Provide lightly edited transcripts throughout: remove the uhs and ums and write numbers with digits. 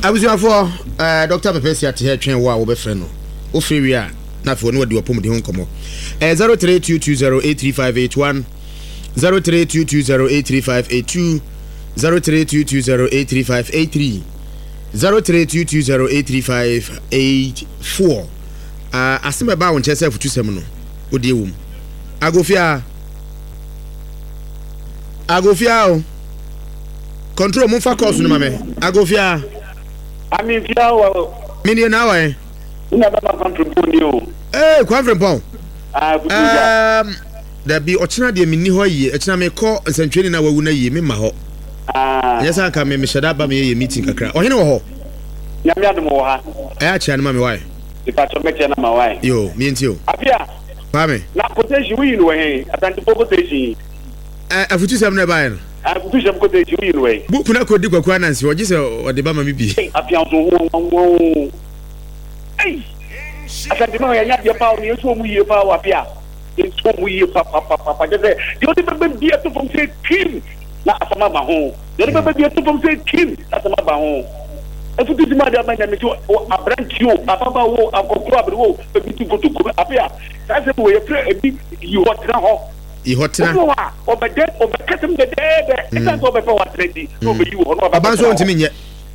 Abusuafoɔ, eh, Dr. Pɛpɛ si ate ha twɛn wo a wobɛfrɛ no. Wofrɛ wie a, na afei ɔne wadi w'apɔmuden ho nkɔmmɔ. Eh, 0322083581, 0322083582, 0322083583, 0322083584. Ah, asɛm a ɛbaa wo nkyɛn sɛ afutusɛm no, wodeɛ wom. Agofia. Agofia o. Control mo fa course no ma me. Agofia. Ami fia o. Me nie na wa. Una ba ma Kwamfrimpong ni o. Eh Kwamfrimpong. Ah kutu ja. Um, dabi ɔkyena deɛ menni hɔ ayie ɛkyena mekɔ nsɛntwerɛni na wawu no ayie memma hɔ. Ah. Ɛnyɛ sɛ anka me mehyɛ da ba meyɛ yɛ meeting kakra. Ɔhene wɔ hɔ. Nyame adom wɔ ha. Ɛyɛ akyea no ma me wae. Mepakyɛ mɛkyɛ no ma wae. Yo, mientie o. Apia. Kwame. Na quotation woyi no wɔ he? Asantefo quotation yi. Ɛ afutusɛm no ɛbaeɛ no. Afutusɛm quotation woyi no wɔ he? Book no akɔdi Kwaku Ananse hɔ gye sɛ ɔde ba ma me bi. Ei Apia nso ho nwanwa oo. Ei Asantema yɛnyɛ adeɛ paa o na yɛnso ɔmu yie paa o Apia. Yɛnso ɔmu yie papapapa kyɛ sɛ deɛ ɔde bɛba bi ato fam sɛ kim na asɛm aba ho. Deɛ ɔde bɛba bi ato fam sɛ kim na asɛm aba ho. Afutusɛm a de aba nyame sɛ aberanteɛ o ababaawa o akɔkoro aberewa o ebi tu kotokuo no afei a saa asɛm wɔ yɛfrɛ ebi yi hɔ tena hɔ. Yi hɔ tena. Obi wɔ hɔ a ɔbɛdɛ ɔbɛkasɛm dɛdɛɛdɛ ɛsan sɛ ɔbɛpɛ hɔ atena nti na ɔbɛyi wɔ hɔ na ɔba Ɔba nso bɛtena hɔ. ɔntumi nyɛ.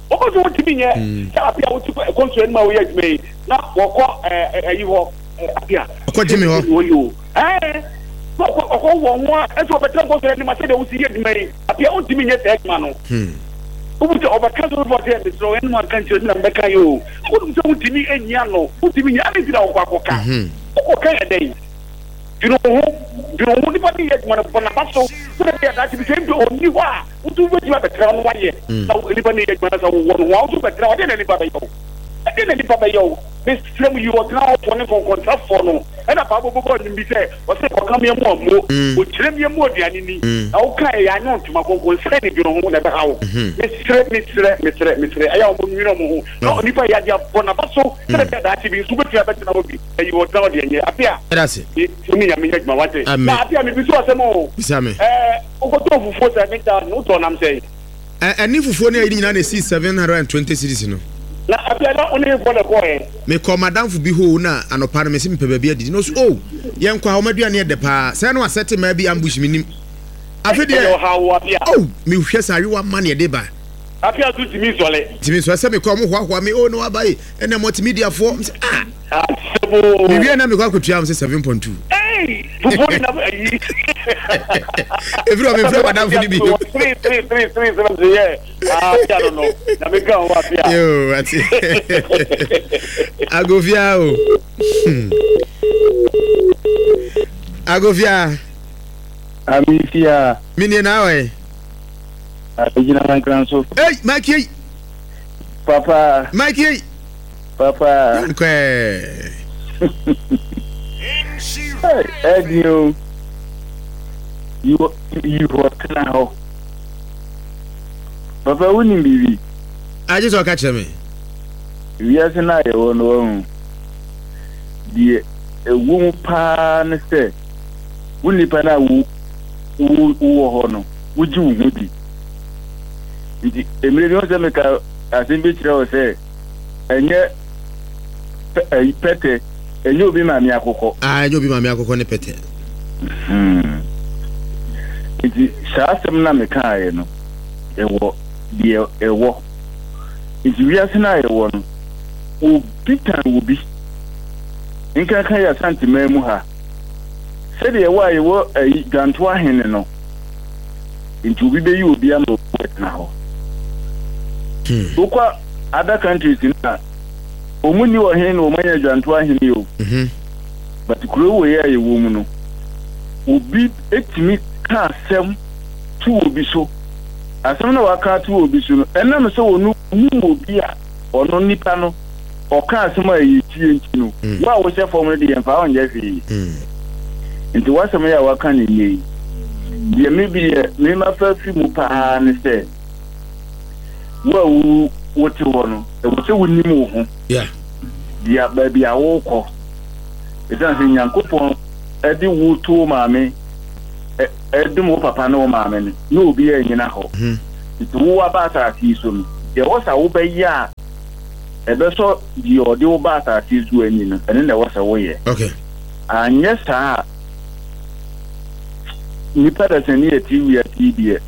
Ɔba nso ɔntumi nyɛ sɛ afei a wote kɔnsu anim a woyɛ adwuma yi na wɔkɔ ɛɛ ɛyi hɔ afei a. Ɔkɔ gyimi hɔ. Wɔyɛ o ɛɛ na ɔkɔ ɔkɔ wɔ ho a ɛsɛ ɔbɛtena kɔnsu anim a sɛdeɛ wosi yɛ adwuma yi afei a ɔntumi nyɛ saa adwuma no. Wobu sɛ ɔbɛka sɛ ɔbɛfɔ sɛ mesrɛ wo ɛnum anka nkyerɛ mi na mebɛka yɛ o. Wonim sɛ wontumi nyi ano, wontumi nyi ade nti na wokɔ akɔka. Wokɔka yɛ dɛn? Dwene wo ho, dwene wo ho. Nipa no yɛ adwuma no, bɔ n'aba so sɛdeɛ ɛbɛyɛ a daakye bi sɛ mpo ɔnni hɔ a, wo nso wobɛtumi abɛtena hɔ na woayɛ. Na nipa no yɛ adwuma no sɛ wowɔ no ho a, wo nso wobɛtena hɔ. Ɛdeɛn na nipa bɛyɛ wo? Ɛdeɛn na nipa bɛyɛ wo? Mesrɛ mo, yi ɔtena hɔfoɔ ne nkɔnkɔnsafoɔ no. Ɛna Bible bɛbɔ nnwom bi sɛ, ɔse, Kɔka me amu ammo, ɔkyerɛ me amu aduane ni, na woka ɛyɛ anyɛ ntoma kronkron, sɛ ne dwene ho na ɛbɛha wo. Mesrɛ, mesrɛ, mesrɛ, mesrɛ, ɛyɛ a wɔn nwene wɔn ho, na onipa yɛ adeɛ abɔ n'aba so, sɛdeɛ ɛbɛyɛ daakye bi nso wobɛtumi abɛtena hɔ bi, ayi ɔtena hɔ deɛ nyɛ afe a, wo ne Nyame nyɛ adwuma, wate. Na afe a mebisa wo asɛm o, ɛɛ, wokɔtɔɔ fufuo 7,000, wotɔɔ nam sɛn? Ɛne fufuo ne ayi no nyinaa na ɛsii 720 cedis no. Na afei na wo ne hefoɔ na ɛkɔɔɛ? Mekɔɔ m'adamfo bi hoo na anɔpa no mese mepɛ baabi adidi na ɔse oh yɛnkɔ ha wɔn aduane yɛ dɛ paa sɛɛ na wasɛte mmaa bi ambush mennim afe deɛ Ɛyɛ ɔhaw o Apia. Oh mehwɛ sɛ ayewa ma na ɛde ba. Apia nso ntumi nsɔre. Ntumi nsɔre sɛ mekɔ a wɔn hoahoa me oh na waba yi ɛnna multimedia foɔ mese ah. Asɛm o. Mewie na mekɔ akɔtua wɔn sɛ 7.2. Hey! Fufuo ne nam ayi. Efiri hɔ mefrɛ madamfo no bio. Three three three three sɛ sɛ yɛ apia no no na meka ho apia. Yoo ate. Agofia o. Hmm. Agofia. Amifia. Minie na awɔ Abegyina mankran so. Hey, Mike yei. Papa. Mike yei. Papa. Nkɔɛ. Ɛdi o. Yi hɔ tena hɔ. Papa wonim biribi? Agye sɛ ɔka kyerɛ me. Wiase no a yɛwɔ no wahu. Deɛ ɛwɔ mu paa ne sɛ wo nipa no a wowɔ hɔ no wogye wo ho di. Nti mmerɛ bi ho sɛ meka asɛm bi kyerɛ wo sɛ ɛnyɛ ɛyi pɛtɛ ɛnyɛ obi maame akokɔ. Aa ɛnyɛ obi maame akokɔ ne pɛtɛ. Hmm. Nti saa asɛm na mekaeɛ no ɛwɔ deɛ ɛwɔ. Nti wiase no a yɛwɔ no obi tan wɔ bi. Nkanka yɛ Asanteman mu ha. Sɛdeɛ ɛwɔ a yɛwɔ ayi Dwanto ahene no nti obi bɛyi obi ama obi bɛtena hɔ. Hmm. Wokɔ other countries no a wɔn nni ɔhene na wɔn anya dwanto ahene o. Mhm. But kuro wei a yɛwɔ mu no obi etumi ka asɛm to obi so. Asɛm na waka ato obi so no ɛnam sɛ wɔn nim obi a ɔno nipa no ɔka asɛm a ɛyɛ tie nti no Mm. wo a wohyɛ fam no de yɛmfa wo nyɛ hwee. Mm. Nti w'asɛm yi a waka no nnɛ yi, deɛ me bi yɛ me mafa fi mu paa ne sɛ, wo a wo wote hɔ no, ɛwɔ sɛ wonim wo ho, Yeah. deɛ baabi a wokɔ. Ɛsiane sɛ Nyankopɔn de wo to wo maame, ɛdom wo papa ne wo maame no, na obiara nnyina hɔ. Mhm. Nti wo aba asase yi so no, deɛ ɛwɔ sɛ wobɛyɛ a. ɛbɛsɔ deɛ ɔde wo ba asase so ani no, ɛno na ɛwɔ sɛ woyɛ. Okay. Anyɛ saa a, nnipa dasani a ɛte wiase yi deɛ,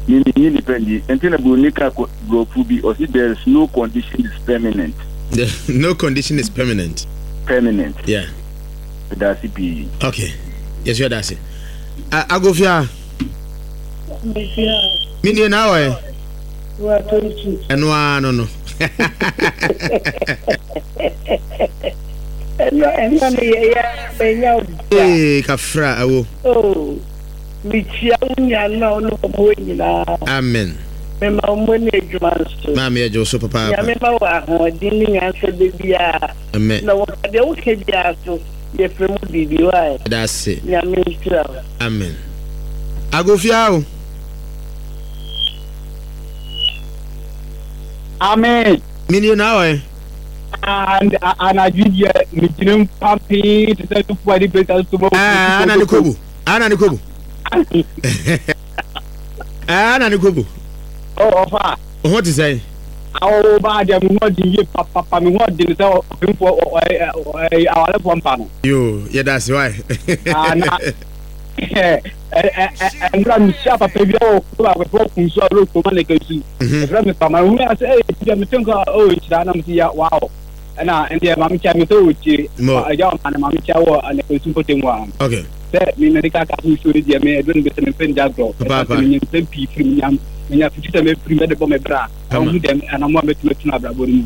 me mennye nnipa nni. Ɛnti na buroni ka borɔfo bi, ɔse there is no condition is permanent. No condition is permanent. Permanent. Yeah. Meda ase pii. Okay. Yɛso yɛda ase. Agofia. Me nie na awɔ ɛ. Ɛno ara no no. Ɛno ɛno no yɛ yɛ menya wo da. Ee kafra awo. Oh mekyia wo nuanom a wo ne wɔn wɔ nyinaa. Amen. Mema wɔn ne adwuma nso. Maame yɛgye wo so papaapa. Nyame ma wo ahoɔden ne nyansa da biara. Amen. Na wɔka deɛ woka biara so yɛfrɛ mu biribi why. Yɛda ase. Nyame nhyira wo. Amen. Agofia o. Amen. Menie na awɔ ɛ. Anadwo deɛ megyina mu pampee te sɛ nufu a de bɛsa so ma. Ana ne kobo. Ana ne kobo. Ana ne kobo. Ɔfa. Ho te sɛn? Awo ba deɛ me ho ɔden yie papapa me ho ɔden sɛ ɔpemfoɔ awarefoɔ mpa no. Yoo yɛda ase wae. Na ɛnura mehyia papa bi wɔ kuro baako fɛ ɔkun so a ɔlɔ kuroma na ɛka su ɛfrɛ me pama ehu yɛ sɛ ɛyɛ ti mi te nka ɔwɔ nhyira na mo si ya waaw ɛna ɛndeɛ maame kyia mi sɛ ɔwɔ tie ɛgya ɔma na maame kyia wɔ ɛna su mpɔtɛ mu a sɛ mi mɛ de ka ka so nsuo ne deɛ mi ɛduro ne bɛ sɛ mi mpɛ ne gya agorɔ ɛsɛ sɛ mi nya nsɛm pii firi mi nya mi nya fiti sɛ mi firi mi de bɔ mi bra. Ɔhu dɛm anamɔ a mɛtumi atunu abrabɔ no mu.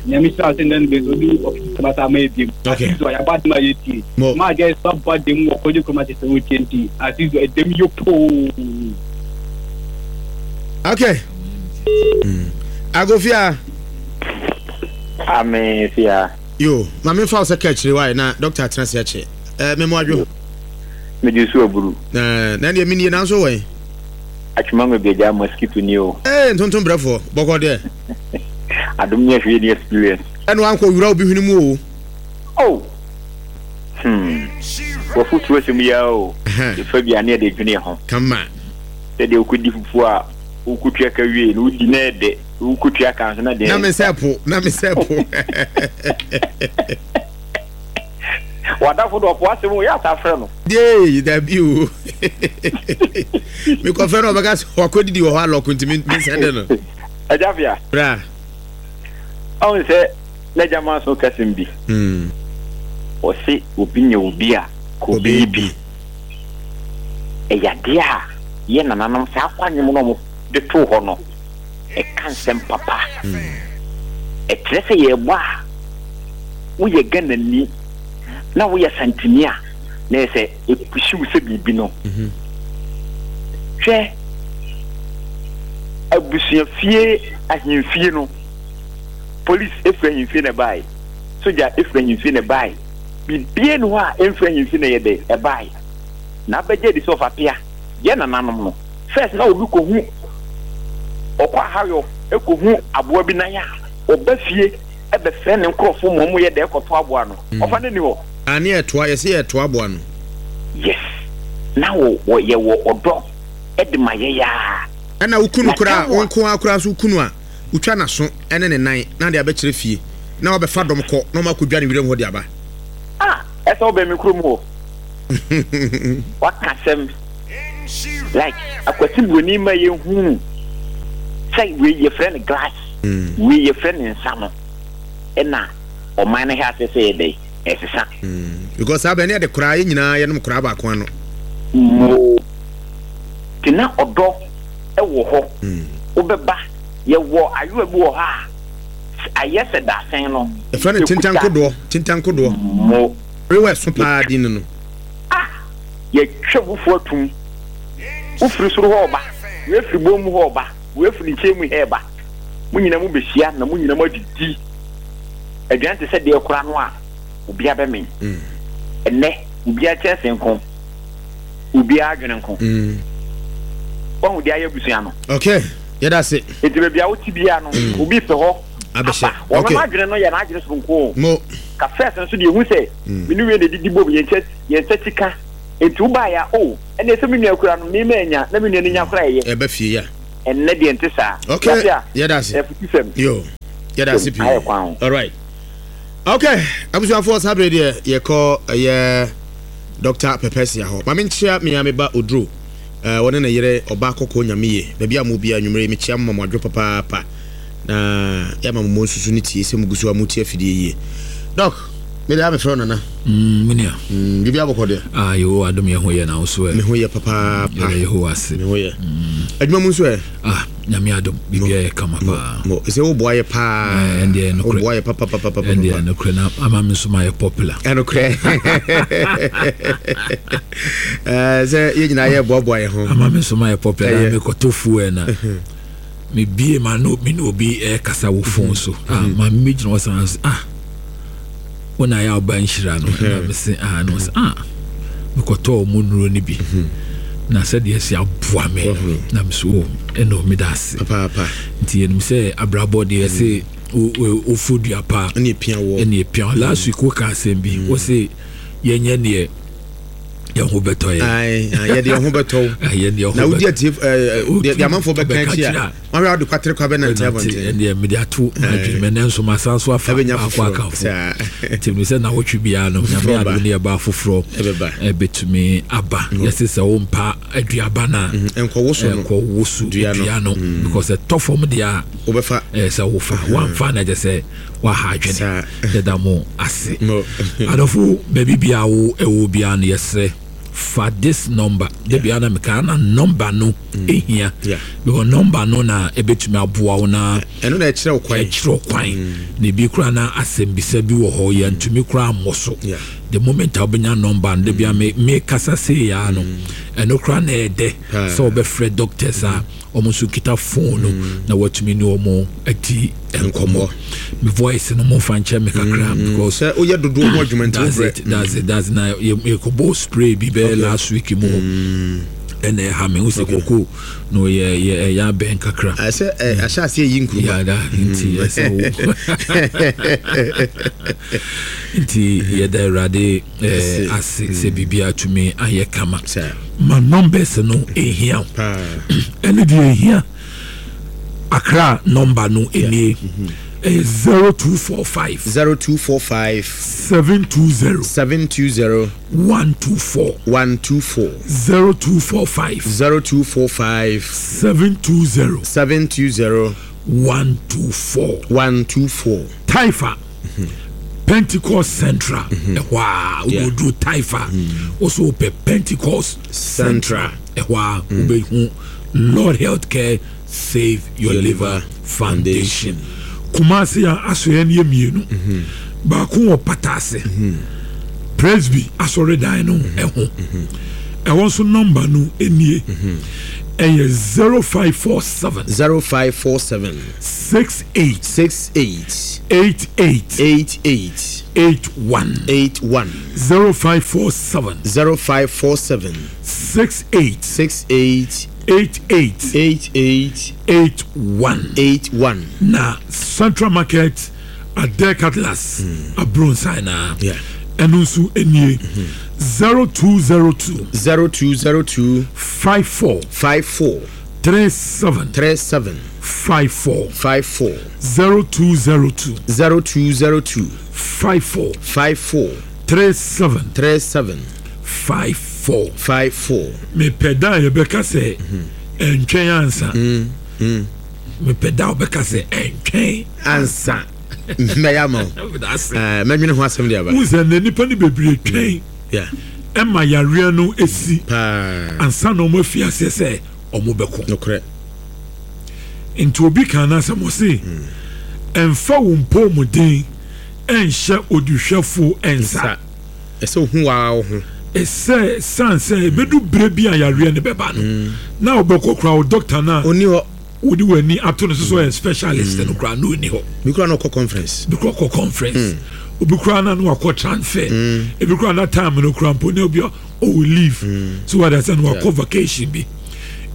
Nyame hyira wo sɛ ndɛ no bɛ obi ɔfiti sɛ basa ama ebiem. Asizo yɛabɔ adem a yɛtie. Ma agya yɛ so abɔ adem wɔ kɔgye kurom akyɛ sɛ wotie nti Asizo ɛdɛm yɛ poo. Okay. Agofia. Ame fia. Yo, ma me fa wo sɛ ka akyire wae na doctor atena se akyɛ. Eh, me mo adwo. Me gye so aburu. Na na deɛ menie nanso wɔ Atwema me bia mosquito ni o. Ee ntontom brɛfoɔ bɔkɔ deɛ. Adom ni ahwɛ ni experience. Ɛna wankɔ wura obi hwene mu o. Oh! Hmm. Wafutuo asɛm yi ara o. Yɛfa bi a ne yɛde dwene ho. Kama. Sɛdeɛ wokɔdi fufuo a wokɔtua ka wie no wodi na ɛdɛ wokɔtua ka nso na deɛ. Na me sɛ po na me sɛ po. W'adamfo de ɔpo asɛm o, yɛ asa frɛ no. Yee, dabi o. Mekɔfrɛ no ɔbɛka sɛ wakɔdidi wɔ hɔ alɔko nti mensɛnde no. Agya Fia. Bra. Ɔhu sɛ n'agya ma so kasɛm bi. Hmm. Ɔse obi nyɛ obi a ka obi bi. Ɛyɛ adeɛ a yɛ nananom saa kwanwom no ɔmo de too hɔ no ɛka nsɛm papa. Ɛkyerɛ sɛ yɛrebɔ a woyɛ Ghanani na woyɛ Asanteni a, na ɛyɛ sɛ ɛpushi wo sɛ biribi no. Hwɛ, abusuafie ahemfie no, police ɛfiri ahemfie na ɛbae, sogya ɛfiri ahemfie na ɛbae, biribiara ni hɔ a ɛmfiri ahemfie na ɛyɛ dɛ ɛbae. Na abɛgye adi sɛ ɔfapea, yɛ nananom no, first na obi kɔhu ɔkɔ ahayɔ ɛkɔhu aboa bi nan a, ɔba fie bɛfrɛ ne nkorɔfoɔ ma wɔyɛ dɛ kɔto aboa no. Ɔfa no nni hɔ. Ah ne yɛtoa yɛse yɛtoa aboa no. Yes na wɔ wɔ yɛwɔ ɔdɔ de ma yɛn aa. Ɛna wo kunu Na koraa tam wo a. nko ara koraa nso wo kunu a wotwa n'aso ne ne nan na de abɛkyerɛ fie na wabɛfa dɔm kɔ na wɔn akɔdwa ne wiram hɔ de aba. Ah ɛsɛ wobɛn me kurom hɔ. Waka asɛm like Akwasi Broni ma yɛhunu sɛ wei yɛfrɛ no glass. Wei yɛfrɛ no nsa no ɛna ɔman no hɛ ase sɛ yɛ dɛn ɛsesa. Because saa bɛ ne yɛde koraa yɛ nyinaa yɛnom koraa baako ano. Moo te na ɔdɔ ɛwɔ hɔ wobɛba yɛwɔ ayowa bi wɔ hɔ a ayɛ sɛ dasɛn no. Yɛfrɛ no tentankodoɔ tentankodoɔ. Mo. Ayowa ɛso paa din no no. Ah yɛtwa fufuo atum wofiri soro hɔ ɔba wei firi bɔn mu hɔ ɔba. Wei firi nkyɛn mu reba. Mo nyinaa mobɛhyia na mo nyinaa moadidi aduane te sɛ deɛ koraa no a obiara bɛmee. Ɛnnɛ, obiara kyɛnse nko, obiara adwene nko. Wahu deɛ ayɛ abusua no? Okay, yɛda ase. Nti baabi a wote biara no, obi pɛ hɔ aba. Wɔn no adwene no yɛ n'adwene soronko o. Mo. Ka first nso deɛ ehu sɛ me ne wei na edidi bom, yɛn nsa ti ka. Nti wobaeɛ a, oh, ɛnneɛ sɛ me nua kura no, me mannya, na me nua no nya koraa ɛyɛ. Ɛba fie ya. Ɛnnɛ deɛ nte saa. Okay, Yɛate a? yɛda ase. Afutusɛm. Yo. Yɛda ase pii. Ayɛ kwan ho. Alright. Okay, abusuafoɔ saa bere deɛ yɛkɔ ɛyɛ Dr. Pɛpɛsia hɔ. Ma menkyea me a meba Oduro. Eh, wɔne ne yere ɔba kɔkɔɔ nyameye. Baabi a mo bia anwummere mekyea mo ma mo adwo papaapa. Na yɛama mo mmɔ nsusu ne tie sɛ mugu so a motie afidie yie. Doc, me deɛ a mefrɛ wo nana. Mm, me nua. Mm, biribi abɔkɔ deɛ. Ah, Yehowa adom yɛ ho yɛ na wo so ɛ. Me ho yɛ papaapa. Yɛda Yehowa ase. Me ho yɛ. Adwuma mu nso ɛ. Ah, nyame adom, biribi ayɛ kama paa. Mo, sɛ wo boa yɛ paa. Eh, ɛndeɛ nokorɛ. Wo boa yɛ papapapapa. Ɛndeɛ nokorɛ na ama me nso ma yɛ popular. Ɛnokorɛ. Eh, sɛ yɛ nyinaa yɛ boaboa yɛ ho. Ama me nso ma yɛ popular na mekɔtɔ fuel na. Mebie ma no me ne obi ɛkasa wɔ phone so. Ah, maame mi gyina hɔ san ah. Wo na ayɛ ɔba nhyira no na mese ah na ɔsɛ ah mekɔtɔɔ mu nnuro no bi mhm. na sɛdeɛ ɛsi aboa me na mese o oh, ɛna meda ase nti yɛnim sɛ abrabɔ deɛ ɛsɛ mhm. wofo dua pa ɛne ɛpia wɔ ɛne ɛpia last week woka asɛm bi wo se yɛnyɛ neɛ yɛn ho bɛtɔ yɛn. Yɛde yɛn ho bɛtɔ wo. Na wodi atie deɛ amanfoɔ bɛka akyi a wɔn a wɔde kwatere kwa bɛnante abɔnten. Ɛdeɛ mede ato m'adwene mɛ nanso masan so afa baako aka ho. Nti mi sɛ nawɔtwe biara no nyame adom ne yɛba foforɔ ɛbɛtumi aba. Yɛse sɛ wompa aduaba no a nkɔwoso dua no because ɛtɔ fam deɛ a wobɛfa sɛ wofa wamfa na kyɛ sɛ waha adwene. Yɛda mo ase. Adɔfo baabi biara wo ɛwɔ biara no yɛsrɛ fa this number da biara na meka na number no ehia because number no na ebetumi aboa wo na ɛno na ɛkyerɛ wo kwan ɛkyerɛ wo kwan mm. na ebi koraa na asɛmbisa bi wɔ hɔ yɛntumi koraa mmɔ so the moment a wobɛnya number no da biara me me kasa sei ya no ɛno koraa na ɛdɛ sɛ wobɛfrɛ doctors a wɔn nso kita phone no mm. na watumi ne wɔn adi nkɔmmɔ me voice no mo nfa nkyɛn me kakra mm. because sɛ woyɛ dodoɔ ho adwuma nti that's it that's it that's na yɛkɔbɔ spray bi bɛyɛ last week mu hɔ ɛna ɛha me wosɛ koko na ɔyɛ yɛ ɛyɛ abɛn kakra ɛsɛ ahyɛ aseɛ yi nkuruma yada nti ɛsɛ wo nti yɛda awurade ase sɛ biribiara tumi ayɛ kama ma numbers no ɛhia ɛne deɛ ɛhia Accra number no nie ɛyɛ 0245 0245 720 720 124 124 0245 0245 720 720 124 124 Taifa Pentecost Central ɛhɔ a woduru Taifa wosɛ wopɛ Pentecost Central ɛhɔ a wobɛhu Lord Healthcare Save Your Liver Foundation. Kumasi a asoɛeɛ no yɛ mmienu. Mhm. Baako wɔ Pataase. Mhm. Presby asɔredan no mhm. ɛho. Ɛhɔ nso nɔmba no nie. Ɛyɛ 0547. 0547. 68. 68. 88. 88. 81. 81. 0547. 0547. 68. 68. 88. 88. 81. 81. Na Central Market Adek Atlas mm. Abronsan na. Yeah. ɛno nso nie. 0202. 0202. 54. 54. 37. 37. 54. 54. 0202. 0202. 54. 54. 37. 37. 54. 54. Mepɛ da a yɛbɛka sɛ ɛntwɛn ansa. Mepɛ da a wɔbɛka sɛ ɛntwɛn ansa. Mɛyɛ ama wo. Mɛdwene ho asɛm de aba. Wohu sɛ nnɛ nnipa no bebree twɛn ɛma yareɛ no si ansa na wɔn afi aseɛ sɛ wɔn bɛko. Nokorɛ. Nti obi kan n'asɛm ɔse ɛmfa wo mpɔmuden ɛnhyɛ oduhwɛfo nsa. Ɛsɛ ohu waa wo ho. Ɛsɛ san sɛ ebedu bere bi a yareɛ no bɛba no mm. na wobɛkɔ koraa wo dɔkta no a ɔni hɔ wode w'ani ato no so sɛ ɔyɛ specialist no koraa na ɔni hɔ. Bi koraa na ɔkɔ conference. Bi koraa ɔkɔ conference. Mm. Obi koraa na no wakɔ transfer. Mm. Ebi koraa na time no koraa mpo na obi ɔwɔ leave. So wada sɛ no wakɔ vacation bi.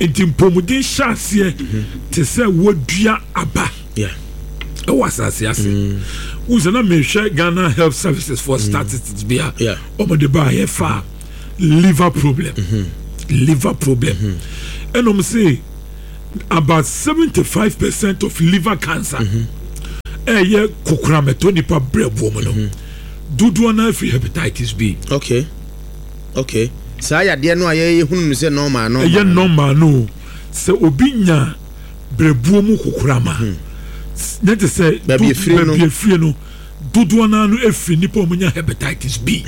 Nti mpɔmuden hyɛ aseɛ mm-hmm. te sɛ wadua aba. ɛwɔ asase ase mm. wohu sɛ na mehwɛ Ghana Health Services for mm. statistics bi a ɔmode baayɛ fa liver problem mm-hmm. liver problem mm-hmm. ɛna ɔm se about 75 percent of liver cancer mm-hmm. ɛyɛ kokoram ɛtɔ nipa brɛboɔ mu no mhm. dodoɔ no afiri hepatitis B. Okay. Okay. Saa yadeɛ no a yɛhunu no sɛ normal no. Ɛyɛ normal no sɛ obi nya brɛboɔ mu kokoram a hmm. ne te sɛ baabi efiri no dodoɔ no ara no firi nnipa a wɔnya hepatitis B.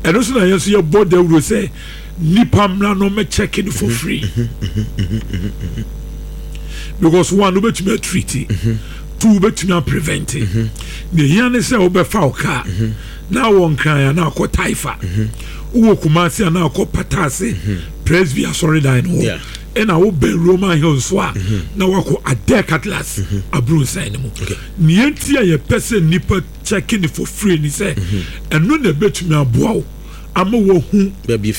Ɛno nso na yɛn nso yɛbɔ dawuro sɛ nnipa mmra no mmɛkyɛke no for free. Because one, wobɛtumi atreat, two, wobɛtumi aprevent. Nea ehia ne sɛ wobɛfa wo kaa na wɔ Nkran anaa akɔ Taifa, wowɔ Kumasi anaa akɔ Patase Presby asɔredan no hɔ. Ɛna wo bɛn Roman Hill nso a na wakɔ Adek Atlas abrunsan no mu. Nea enti a yɛpɛ sɛ nnipa kyɛke no for free ne sɛ ɛno na ɛbɛtumi aboa wo ama woahu baabi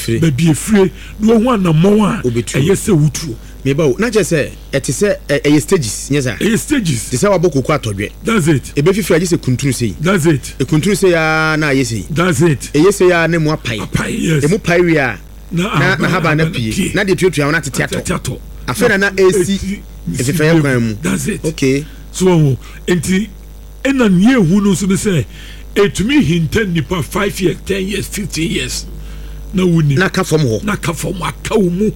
efire na woahu anammɔn a ɛyɛ sɛ wotuo. Me ba o, na kyerɛ sɛ ɛte sɛ ɛyɛ stages, nyɛ saa? Ɛyɛ stages. Te sɛ wabɔ koko atɔdwɛ. That's it. Ɛbɛfifiri a gye sɛ kuntunu sei. That's it. Ɛkuntunu sei ara na ayɛ sei. That's it. Ɛyɛ sei ara na emu apae. Apae, yes. Emu pae wie a. na n'ahaban no apue na deɛ tuatua ho no atete atɔ afei na na ɛresi mfefɛeɛ kwan mu. That's it. Okay. So wɔn nti ɛna nea ehu no nso ne sɛ etumi hinta nipa 5 years, 10 years, 15 years na wuni. Na ka fam hɔ. Na ka fam aka wo mu.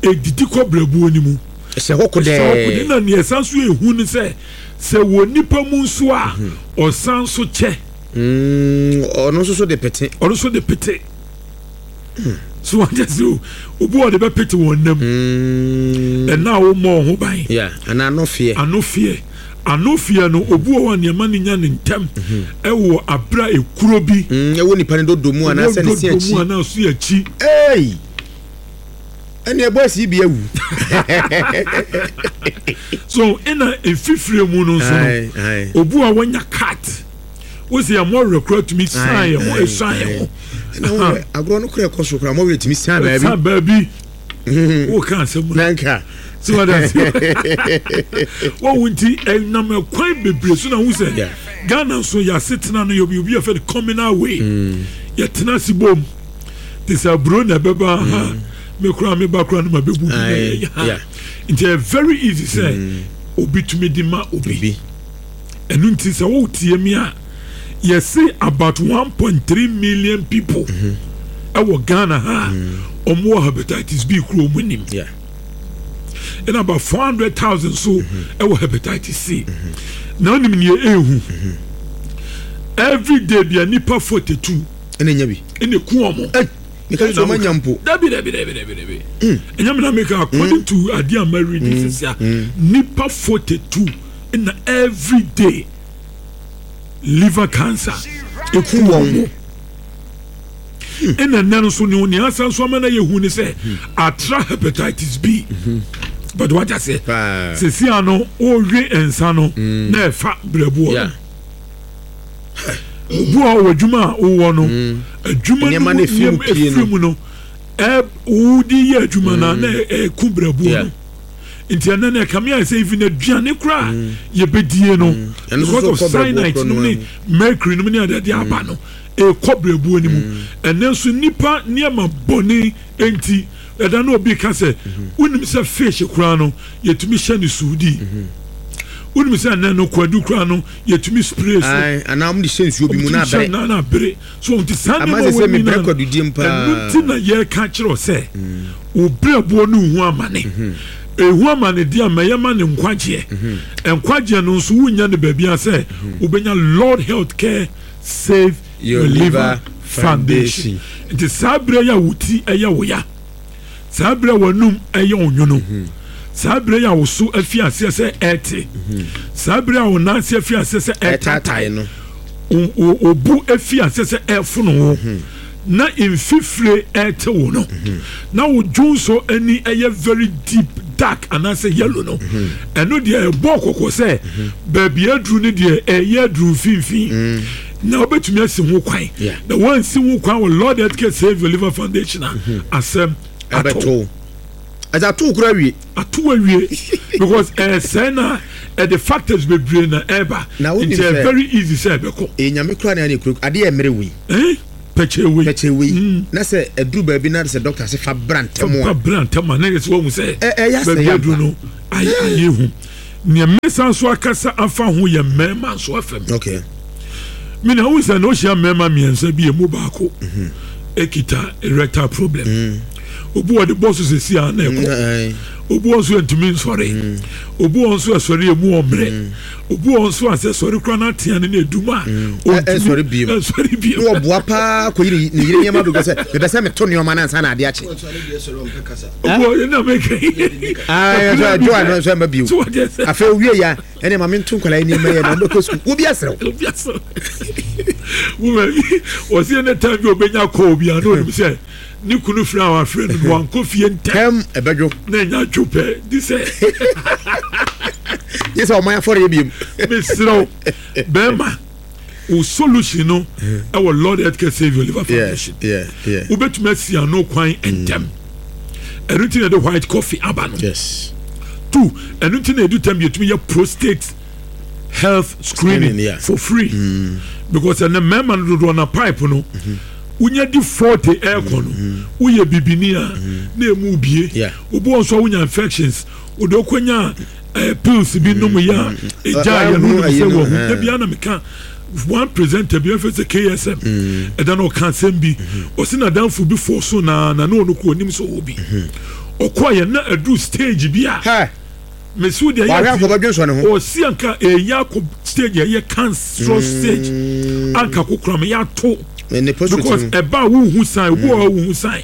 Edidi kɔ brɛbuo ni mu. Ɛhyɛ hɔ kodɛɛ. Ɛhyɛ hɔ kodɛɛ na nea ɛsan so ehu ne sɛ sɛ wɔ nipa mu nso a ɔsan so kyɛ. Ɔno nso so de pete. Ɔno nso de pete. So wate ase o obi wɔ de bɛpete wɔn nam mm. ɛna a wɔmmɔ wɔn ho ban anaa ano feɛ ano feɛ ano feɛ no obi wɔ hɔ a nneɛma no nya ne ntɛm mhm. ɛwɔ abira ekuro bi mm, ɛwɔ nipa ne dodo mu anaasɛ ne si akyi dodo mu anaa so akyi ee ɛnna ɛbɔ esi bi awu so ɛna efifire mu no nso no obi a wɔnya cat. Wosi yɛn mɔwerɛ kora tumi san yɛn ho esan yɛn ho. Ɛna wɔn agorɔ no kora ɛkɔ so kora mɔwerɛ tumi san baabi. San baabi. Wo ka asɛm mu. Nanka. Si wa da se. Wɔn wo nti ɛnam ɛkwan bebree so na ho sɛ Ghana nso yɛ asetena no yɛ obi obi yɛ fɛ no communal way. Mm. Yɛ tena ase bom. Te sɛ aburo na ɛbɛba ha. Me kora me ba kora no ma bɛbu bi na yɛ ha. Nti ɛyɛ very easy sɛ mm. obi tumi di ma obi. Ɛno nti sɛ wotie me a, yɛse about 1.3 million people mhm. ɛwɔ Ghana ha a mm. wɔn wɔ hepatitis B kuro wɔn nim. Ɛna about 400,000 so mhm. ɛwɔ hepatitis C. Mhm. Na onim nea ehu. Every day bia nipa 42. Ɛna nya bi. Ɛna eku wɔn. Meka sɛ ɔma nya mpo. Dabi dabi dabi dabi dabi. Ɛnyɛ mi na meka according mm. to adeɛ a ma read mm. sisi a nipa 42. na everyday liver cancer eku wɔn mo ɛna nnɛ no nso ne nea asan so ama no yɛ hu ne sɛ atra hepatitis B but wagya sɛ sɛsi ano ɔrewe nsa no mm. na ɛfa brɛboɔ no obu a ɔwɔ adwuma a wowɔ no mm. adwuma no mu nneɛma efiri mu no ɛ wodi yɛ adwuma no na ɛku brɛboɔ no. Nti ɛnɛ no ɛkame ayɛ sɛ even aduane koraa mm. yɛbɛdie no mm. because of cyanide nom ne mercury nom ne adeade mm. aba no ɛkɔ brɛbuo no mu ɛnɛ nso nnipa nneɛma bɔne nti ɛda na obi ka sɛ mm-hmm. wonim sɛ fish koraa no yɛtumi hyɛ no suudi mm-hmm. wonim sɛ ɛnɛ no kwadu koraa no yɛtumi spray so anaa wɔde hyɛ nsuo bi mu na abere na abere so nti saa nneɛma wɔ nyinaa ɛno nti na yɛreka kyerɛ sɛ wo brɛboɔ no nhu amane ɛhu amane deɛ ama yɛma ne nkwagyeɛ nkwagyeɛ no nso wonya no baabi a sɛ wobɛnya Lord Health Care Save Your Liver Foundation nti saa berɛ yi a wo ti ɛyɛ wo ya Saa bere a w'anom yɛ onwono, saa bere a wo so afi aseɛ sɛ ɛrete, saa bere a wo nan ase afi aseɛ sɛ ɛretaatae no, wo bo afi aseɛ sɛ ɛrefono wo, na mfifire ɛrete wo no, na wo dwonsɔ ani ɛyɛ very deep dark anaasɛ yellow no, ɛno deɛ ɛbɔ kɔkɔ sɛ baabi aduru no deɛ ɛyɛ aduru mfimfini. Na wobɛtumi asi ho kwan. Na woansi ho kwan wɔ Lord Healthcare Save Your Liver Foundation a, mhm. asɛm ato. Ɛsɛ ato kura awie. Ato awie because ɛsɛn na ɛde factors bebree na ɛba. Nti ɛyɛ very easy sɛ ɛbɛkɔ. Ɛyɛ nyame kura na ɛna ekuro adeɛ ɛmere wei. Eh? Pɛkyɛ wei. Pɛkyɛ wei. Mm. Na sɛ ɛduru baabi na sɛ doctor sɛ fa bra ntɛm a. Fa bra ntɛm a na yɛ sɛ wɔn sɛ. Ɛyɛ asɛ yɛ ampa. Baabi aduru no ayɛ ayɛ hu. Nea mɛsan so akasa afa ho yɛ mmarima nso afam. Okay. Me na wohu sɛ na wohyia mmarima mmiɛnsa bi emu baako ekita erectile problem. Mm. Obi wɔ de bɔ so sɛsi a na ɛkɔ. Mm, Obi wɔ nso ntumi nsɔre. Mm. Obi wɔ nso ɛsɔre emu ɔmmerɛ. Mm. Obi wɔ nso asɛ sɔre kura n'atea ne n'edum a. Ɔntumi mm. ɛnsɔre biem. Ne ɔboa paa kɔ yi ne yere nneɛma bi sɛ mepɛ sɛ meto nneɛma no ansa na ade akye. Obi wɔ yɛ na meka yi. Ɛdwo ano nso ɛma bio. Afei owie ya ɛne ma mento nkwadaa yi nneɛma yɛ na ɔbɛkɔ sukuu. Obi asrɛ wo. Obi asrɛ wo. Wɔsi ɛnɛ time bi obenya kɔɔ bi a na onim sɛ. Ne kunu frɛ a wafrɛ no no wankɔ fie ntɛm. Ɛbɛdwo. Na ɛnya dwo pɛ di sɛ. Nye sɛ ɔman afɔre yɛ biem. Mesrɛ wo bɛrima wo solution no ɛwɔ Lord Healthcare Savior Liver Foundation. Wobɛtumi asi ano kwan ntɛm. Ɛno nti na ɛde white coffee aba no. Yes. Two, ɛno nti na ɛdu tɛm yɛtumi yɛ prostate health screening, yeah. for free. Mm. Because ɛnɛ mmarima no dodoɔ na pipe no. Mm -hmm. Wonya di 40 ɛɛkɔ no, woyɛ bibini a na emu bie. Obi wɔ nso a wonya infections, wode wokɔnya eh, pills bi nom yɛ a ɛgyaa yɛ no wonim sɛ wahu. Da biara na meka one presenter bi ɛfɛ sɛ KSM ɛda na ɔka asɛm bi ɔse n'adamfo bi fɔɔ so na na ne ɔno kɔ onim sɛ ɔwɔ bi ɔkɔɔ yɛ na aduru stage bi a Mesi wo deɛ yɛ akɔ bɛdwen sɔ ne ho. Ɔsi anka ɛyɛ akɔ stage ɛyɛ cancerous mm. stage anka kokora ma yɛato because ɛba a wohu sign obi wɔ hɔ wohu sign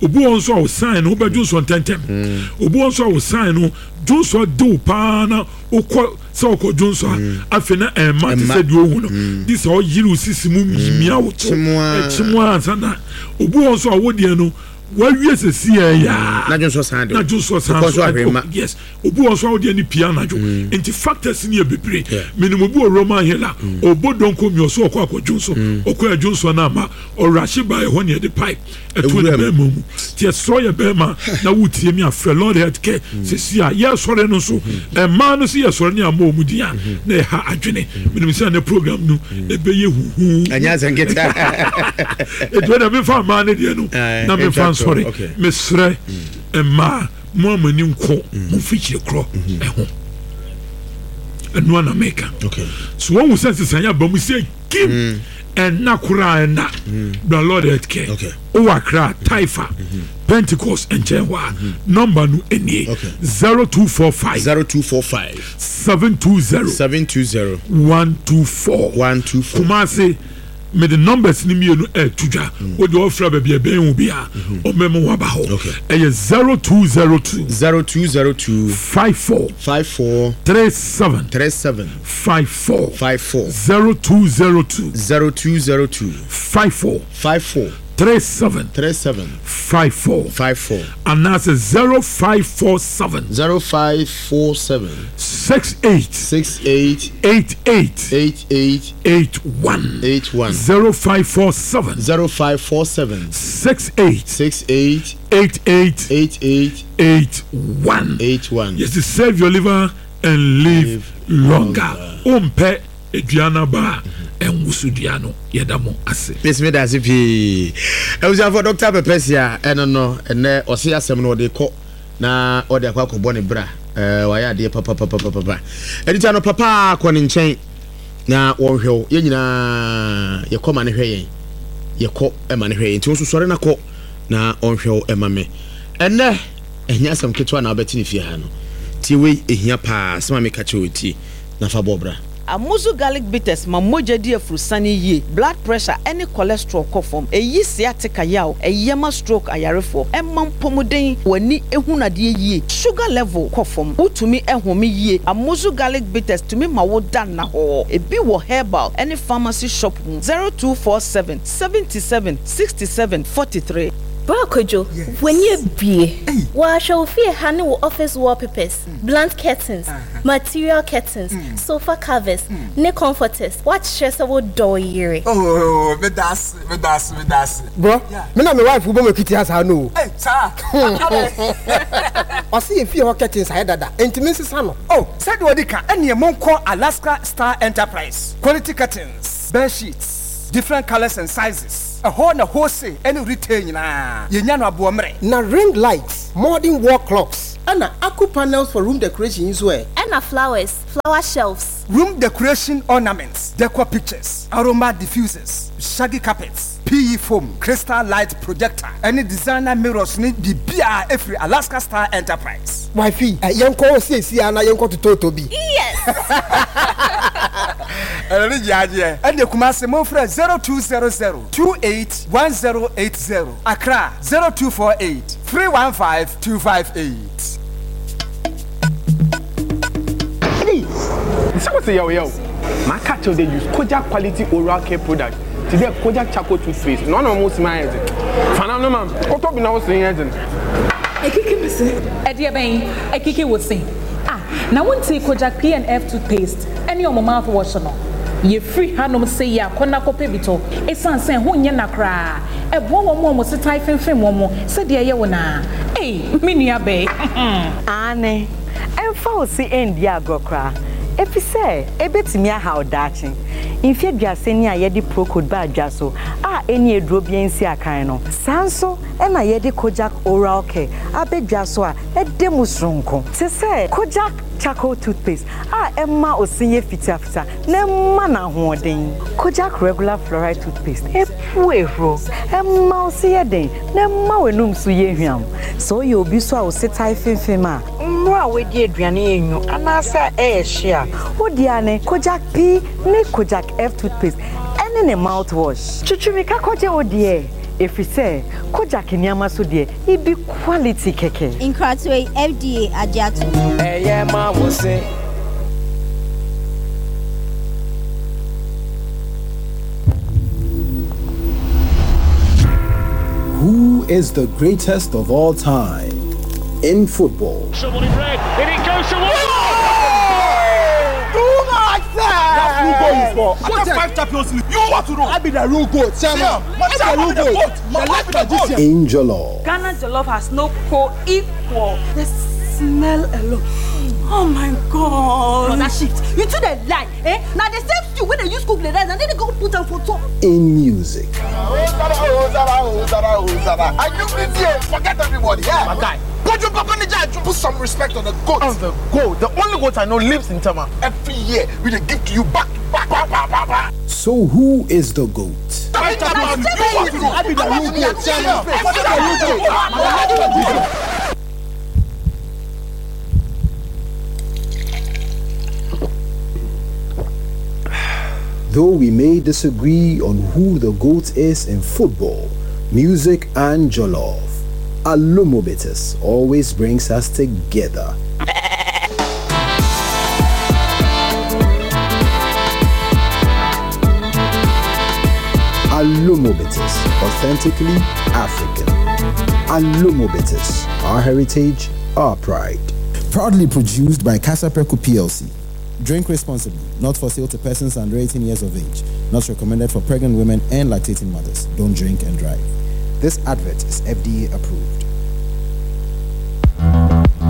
obi wɔ nso a wo sign no wobɛdwo nsɔ ntɛntɛm mm. obi wɔ nso a wo sign no dwonsɔ de wo paa na wokɔ sɛ wokɔ dwonsɔ a mm. afei na ɛmma te sɛ deɛ ohu no de sɛ ɔyere wo sisi mu mia wo to ɛkyem a ansa na obi wɔ nso a wo deɛ no Wawie sɛsi yɛ yaa. Na dwonsɔ san de. Na dwonsɔ san so. Kɔ so Yes. Obi wɔ so a wodeɛ ne pia anadwo. Mm. Nti factors ni yɛ bebree. Menim obi wɔ Roman Hill a mm. ɔbɔ donko mi ɔso ɔkɔ akɔ dwonsɔ. Mm. Ɔkɔ ɛdwonsɔ no ama ɔrahye ba ɛhɔ ne ɛde pipe ɛto ne bɛrima mu. Nti ɛsrɔ yɛ bɛrima na wotie mi afrɛ Lord Health Care sɛsi a yɛsɔre no nso ɛmaa no sɛ yɛsɔre ne ama ɔmu din a na ɛha adwene. Menim sɛ ne program no ɛbɛyɛ huhu. Ɛnyɛ asɛnketa. Ɛti na mefa mmaa no deɛ no na mefa nsɔre. Mesrɛ mmaa mo a mo ani nkɔ mo mfikyire korɔ ɛho. Ɛno ana meka. So wɔn sɛ nsesan aba mu sɛ kim ɛnna koraa ɛnna. Bra Lord Health Care. Wowɔ Accra, Taifa, Pentecost nkyɛn hɔ a nɔmba no nie 0245 0245 720 720 124 124 Kumasi mede numbers no mmienu ɛɛto dwa wode ɔfrɛ baabi ɛbɛn wo bi a ɔmɛma waba hɔ ɛyɛ 0202 0202 54 54 37 37 54 54 0202 0202 54 54 37 37 54 54 anaasɛ 0547 0547 68 68 88 88 81 81 0547 0547 68 68 88 88 81 81 Yɛsi save your liver and live longer. Wompɛ dua no aba a, ɛnwoso dua no. Yɛda mo ase. Mesi meda ase pii. Abusuafo Dr. Pɛpɛsia ɛno no ɛnɛ ɔse asɛm no ɔde kɔ na ɔde akɔ akɔbɔ ne bra. Ɛɛ wayɛ adeɛ papapapapapa. Ɛdita no papa kɔ ne nkyɛn na wɔnhwɛ wo. Yɛn nyinaa yɛkɔ ma ne hwɛ yɛn. Yɛkɔ ma ne hwɛ yɛn. Nti wo nso sɔre na kɔ na ɔnhwɛ wo ɛma me. Ɛnɛ ɛnyɛ asɛm ketewa na wobɛte ne fie ha no. Tie wei ɛhia paa asɛm a meka kyerɛ wo tie na fa bɔ bra. Amuzu garlic bitters ma mogya di afurusane yie, blood pressure ne cholesterol kɔ fam, ɛyi sciatica yaw, ɛyɛ ma stroke ayarefoɔ, ɛma mpɔmuden, w'ani hunu adeɛ yie, sugar level kɔ fam, wotumi home yie. Amuzu garlic bitters tumi ma wo da nnahɔɔ. Ebi wɔ herbal ne pharmacy shop mu. 0247 77 67 43. Bra Kwadwo, w'ani abue. Wɔahwɛ wo fie ha ne wo office wallpapers, blunt curtains, material curtains, sofa covers, ne comforters. Woakyerɛ sɛ wodɔ wo yere. Oh, meda ase, meda ase, meda ase. Bro, me na me wife bɔ m'akiti ha saa no o. Ei, saa? Adɛn? Ɔse yɛn fie hɔ curtains ayɛ dada, enti mensesa no. Oh, sɛdeɛ ɔdi ka, ɛneɛ monkɔ Alaska Star Enterprise, quality curtains, bed sheets, different colours and sizes, ɛhɔ na wholesale ɛne retail nyinaa, yɛnya no aboɔmmerɛ. Na ring lights, modern wall clocks. Ɛna Aku panels for room decoration yi nso ɛ? Ɛna flowers, flower shelves. Room decoration ornaments, decor pictures, aroma diffusers, shaggy carpets, PE foam, crystal light projector, ɛne designer mirrors ne biribiara ɛfiri Alaska Star Enterprise. Wifey, yɛnkɔ hɔ seesei ara na yɛnkɔ totɔɔtɔ bi. Yes! Ɛno ne gyeagyeɛ. Ɛne Kumasi momfrɛ 0200 28 1080, Accra 0248 315 258. Ei! Sɛ wo se yaw yaw, maka akyerɛ wo dɛ use Kojak quality oral care product tse dɛ Kojak charcoal toothpaste na ɔnam wo se mu ayɛ dzen. Fa nam no ma me, kɔtɔ bi na wo se nyɛ dzen. Ekiki me se. Ɛdeɛ bɛn? Ekiki wo se? Ah, na wontee Kojak P and F toothpaste ɛne ɔmo mouthwash no? Yɛfiri hanom sei a kɔ na kɔpɛ bi tɔ, ɛsiane sɛ ɛho nyɛ na koraa. Ɛboa wɔn a wɔn se tae femfem wɔn sɛdeɛ ɛyɛ wo no ara. Ei, me nua bɛɛ. Aane, ɛmfa wo se ɛndi agorɔ koraa, efisɛ ebetumi ahaw daakye. Mfe aduasa ni a yɛde Procold baa dwa so a enni aduro biara nsi akan no, saa nso na yɛde Kojak Oral Care aba dwa so a ɛda mu soronko. Te sɛ Kojak Charcoal Toothpaste a ɛma ose yɛ fitafita na ɛma no ahoɔden. Kojak Regular Fluoride Toothpaste pue huro, ɛma wo se yɛ den na ɛma w'anum nso yɛ hwam. Sɛ woyɛ obi nso a wo se tae femfem a, mmerɛ a woadi aduane yɛ nwu anaasɛ ɛyɛ hye a, wo deɛ ara ne Kojak P ne Kojak F toothpaste ɛne ne mouthwash. Twitwi mirika kɔgye wo deɛ, ɛfiri sɛ Kojak nneɛma so deɛ, ebi quality kɛkɛ. Nkratoɔ yi, FDA agye atom. Ɛyɛ ma wo se. Who is the greatest of all time in football? Someone in red, and it goes to Too much That's who goal for. After five Champions League, you want to know? I be the real goat, chairman. I be the real goat. The life magician. In Jollof. Ghana Jollof has no co-equal. The smell alone. Oh my God. Brother shift. You too dey lie. Eh? Na the same stew wey dey use cook the rice, na dem dey go put am for top. In music. Are you busy? Forget everybody. Yeah. My guy. Put your papa Put some respect on the goat. On the goat. The only goat I know lives in Tama. Every year, we dey give to you back to back. Ba, ba, ba, ba. So who is the goat? I be the real goat, chairman. I be the real goat. The life magician. Though we may disagree on who the GOAT is in football, music and jollof, Alomo Bitters always brings us together. Alomo Bitters, authentically African. Alomo Bitters, our heritage, our pride. Proudly produced by Kasapreko PLC. Drink responsibly. Not for sale to persons under 18 years of age. Not recommended for pregnant women and lactating mothers. Don't drink and drive. This advert is FDA approved.